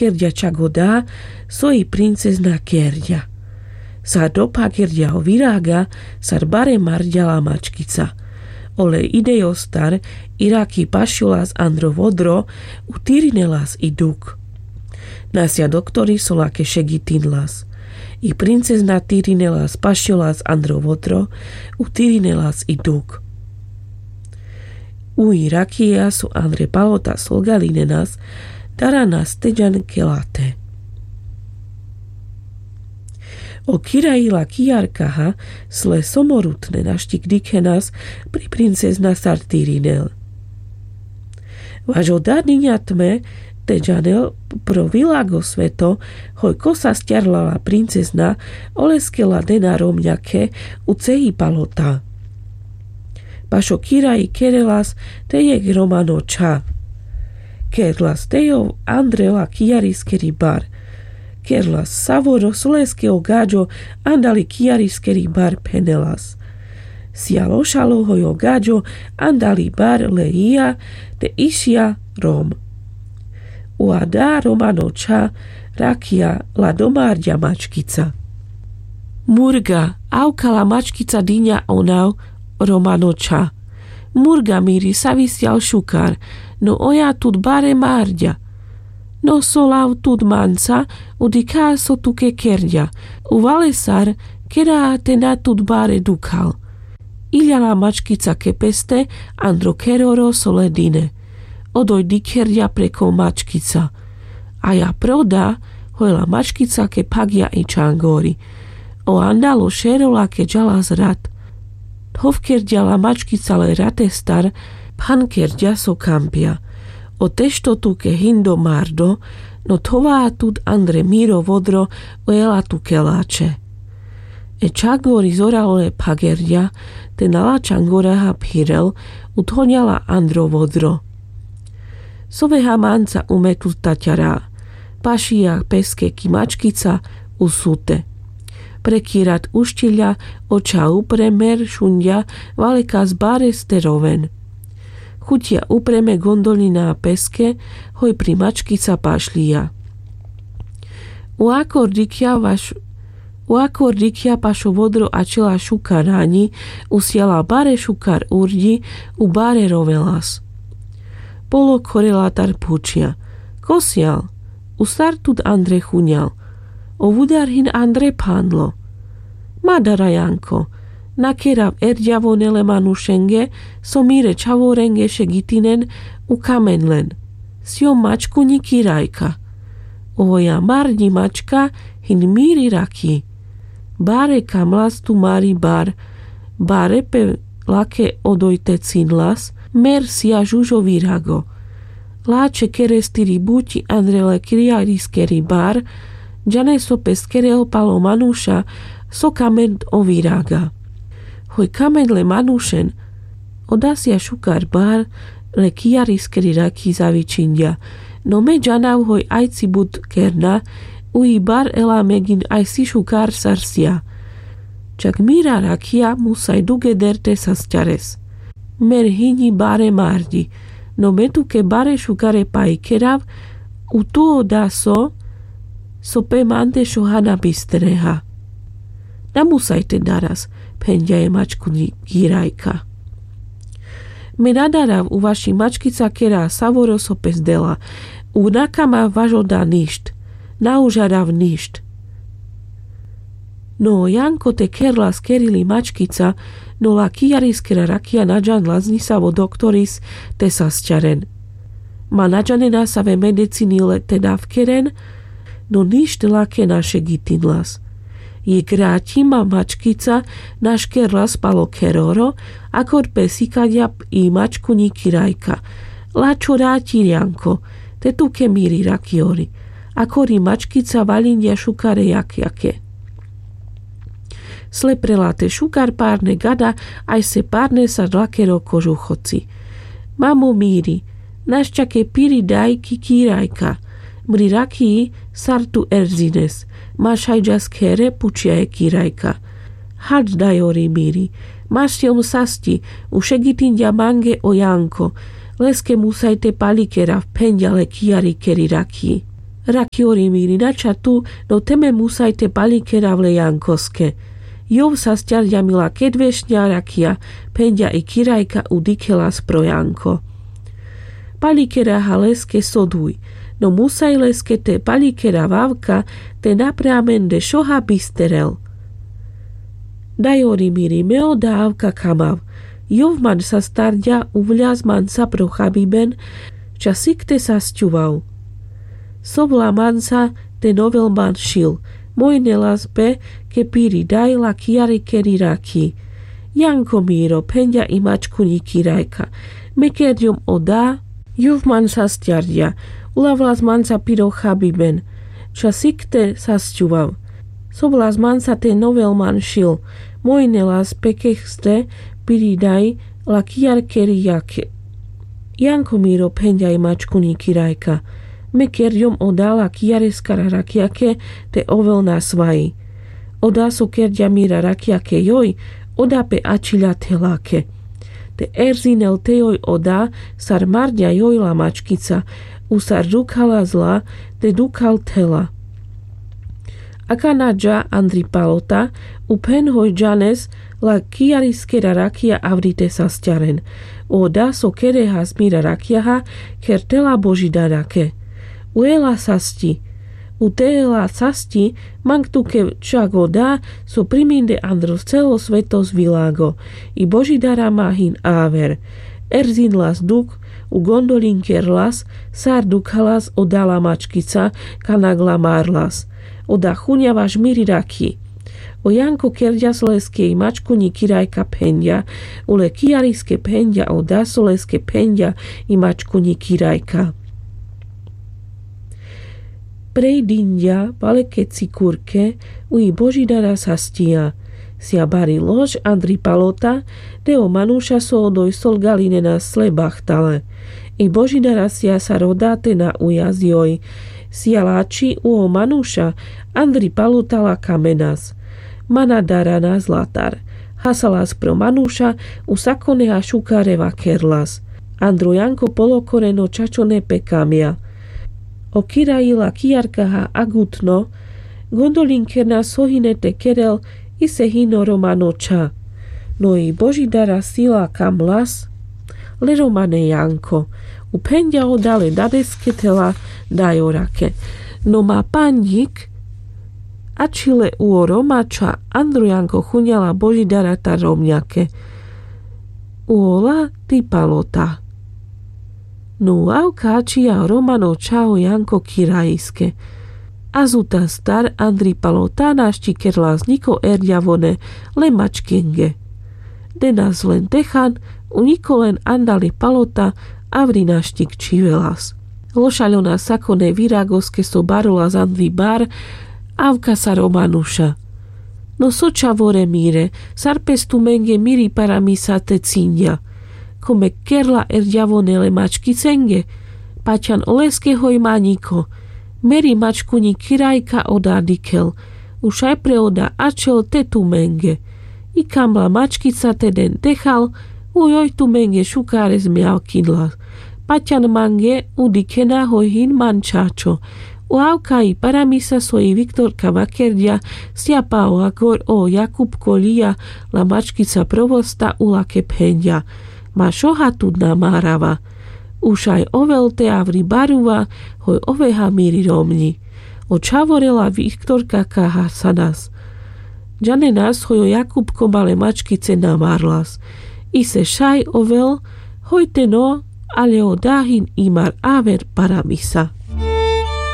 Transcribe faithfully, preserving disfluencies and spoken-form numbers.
kerďa čak o da so i princezna kerďa. Sar dopakerďa o viraga, sar bare marďa la mačkica. Ole ideostar i raki pašilas andro vodro, utirinelas i duk. Nasľa doktori so lake šegitinlas. I princezna tirinelas pašilas andro vodro, utirinelas i duk. U i rakija so andre palota solgalinenas, daranas teďan ke late. O kiraji la kijarkaha sle somorutne našti dikhenas pri princezna sar tirinel. Vaš o da diňa tme teďanel pro vilago sveto, hoj ko sasťarla la princezna, oleske la dena romňake u cehi palota. Paš o kiraji kerelas te jekh romano čha. Kerlas te jov andre la kijariskeri bar. Kerlas savoro so leske o gaďo andali kijariskeri bar phenelas. Sial ošalo hoj o gaďo andali bar le ija te išľa rom. U a da romano čha rakija la domarďa mačkica. Murga, avka la mačkica diňa o nav romano čha. Murga miri savi sial šukar, no oja tut bare marďa. No so lav tut manca, u dikha so tuke kerďa, u valesar kera te na tut bare dukhal. Iľa la mačkica ke peste andro keroro so le dine. Odoj dikherďa preko mačkica. A ja pro da, hoj la mačkica ke phagďa i čangori. O andalo šero lake džalas rat. Thovkerďa la mačkica le ratestar, phankerďa so kampľa. O tešto tuke hindo mardo, no thová tut andre miro vodro, ojela tuke lače. E čangori zoralo le phagerďa, te na la čangoraha phirel, uthoňala andro vodro. Soveha manca umetul taťara, pašľa peske ki mačkica, usute. Pre ki rat ušťiľa, o čha upre mer šunďa, valekas bare ste roven. Chuťa upreme gondolina peske, hoj pri mačkica pašľa. U akor dikhľa vaš U akor dikhľa pašo vodro ačela šukar raňi, usiala bare šukar urďi, u bare rovelas. Polo khorela tar phučľa: Ko sial? U sar tut andre chuňal? O vudar hin andre phandlo. Ma dara, Janko, na kerav erďavone le manušenge, so mire čhavorenge šegitinen, u kamen len. Siom mačkuňi kirajka. Ovoja marďi mačka hin miri rakhi. Bare kamlas tu mari bar, bare pe lake odoj te cinlas, mer sia žužo virago. Lače kerestiri buťi andre le kijariskeri bar, džane so pes kerel palo manuša, so kamen o viraga. Hoj kamen le manušen, oda sia šukar bar le kijariskeri rakhi zavičinďa. No me džanav hoj ajci but kerna, u i bar ela megin ajsi šukar sar sia. Čak mira rakhia musaj dugeder te sasťares. Mer hiňi bare marďi, no me tuke bare šukare paj kerav, u tu oda so, so pe mande šoha na bistreha. Na musaj te daras, phenďa e mačkuňi kirajka. Me na darav u vaši mačkica kera savoro so pes dela, u na kamav vaš oda ništ, na užarav ništ. No Janko te kerlas kerili mačkica, no la kijariskera rakhia na džanlas ni savo doktoris te sasťaren. Ma na džanena save medicini le te dav keren, no ništ lake na šegitinlas. Jekh raťi ma mačkica naš kerlas palo keroro, akor pes ikaďa i mačkuňi kirajka: Lačho raťi, Janko, te tuke miri rakhiori. Akor i mačkica vaľinďa šukare jakjake. Sle pre late šukar parne gada, ajse parne sar lakero kožuchoci. Mamo miri, našťake piri daj ki kirajka. Mri rakhi sar tu erzines. Ma šaj džas khere? Pučľa e kirajka. Haľ dajori miri, ma siom sasťi, u šegitinďa mange o Janko, leske musaj te paľi kerav, phenďa le kijarikeri rakhi. Rakijori miri, na ča tu, no te me musaj te palikerav le jankoske. Jov sa sťarďa mi la kedvešnja rakija, phenďa i kirajka, u dikhelas pro janko. Palikeraha leske so duj, no musaj leske te palikerav avka, te napre amen de šoha bisterel. Dajori miri, me oda avka kamav. Jov man sa starďa, uvľas man sa pro chabiben, ča sikte sa sťuvav. Sovla man sa te novel man šil, mojnelas pe ke piri daj la kijarikeri rakhi. Janko miro, phenďa i mačkunji kirajka, me kerďom oda. Jov man sa sťarďa, ulavlas man sa piro chabiben, ča sikte sa sťuvav. Sovlas man sa te novel man šil, mojnelas pe ke ste piri daj la kijarikeri rakhi. Janko miro, phenďa i mačkunji kirajka, me kerďom oda la kijareskara rakjake te ovel nasvaji. Oda so kerďa mira rakjake joj, oda pe ačhiľa thelake. Te erzinel te joj oda, sar marďa joj la mačkica, u sar dukhalas la, te dukhal thela. Akana dža Andri Palota, u phen hoj džanes la kijariskera rakija avri te sa sťaren. Oda so kerehas mira rakjaha, kher thela Božidarake. Ujela sasťi. U te ela sasťi, mang tuke čak oda so priminde andro celo svetos vilago, i Božidara ma hin aver. Erzinlas dukh, u gondoľinkerlas, sar dukhalas oda la mačkica, kanak la marlas. Oda chunďa vaš miri rakhi. O Janko kerďa so leske i mačkunji kirajka phenďa, u le kijariske phenďa oda so leske phenďa i mačkunji kirajka. Prej dinďa, palekeci kurke, u i Božidara sasťija. Sija bari lož Andri Palota, de o manuša so odoj solgaľinenas le bachtale. I Božidara sija sar oda te na ujazďoj. Sija lačhi u o manuša, Andri Palota la kamenas. Mana daranas latar. Hasalas pro manuša, u sakoneha šukare vakerlas. Andro Janko polokoreno čačone pe kamňa. O kiraji la kijarkaha agutno, gondoľinkernas so hine te kerel, ise hino romano čha. No i Božidara sila kamlas le romane Janko. U phenďa oda le dadeske thela dajorake. No ma panďik ačhile u o roma čha. Andro Janko chunďa la Božidara tar romňake. U ola ti Palota. No avka ačhija romano čha o Janko kirajiske. Azutastar Andri Palota našti kerlas ňiko erďavone le mačkenge. Denas len techan, u ňiko len Andali Palota avri našti kčhivelas. Lošaľona sakone viragoske so barolas Andri bar, avka sar o manuša. No so čhavore mire, sar pes tumenge miri paramisa te cinďa. Ko me kerla erďavone le mačkicenge, paťan oleske hoj ma ňiko. Meri mačkunji kirajka oda dikhel, u šaj pre oda ačhel te tumenge. I kam la mačkica te den techal, u joj tumenge šukares mňavkinla. Paťan mange, u dikhena hoj hin man čačo. U avka i paramisa so i Viktorka vakerďa, sija pa o agor o Jakupko lia la mačkica provosta, u lake phenďa. Ma šoha tut na marava. U šaj ovel te avri baruva, hoj oveha miri romňi. O čhavore la Viktorka ka hasanas. Džanenas hoj o Jakupko ma le mačkice na marlas. Ise šaj ovel, hoj te no, ale oda hin i mar aver paramisa.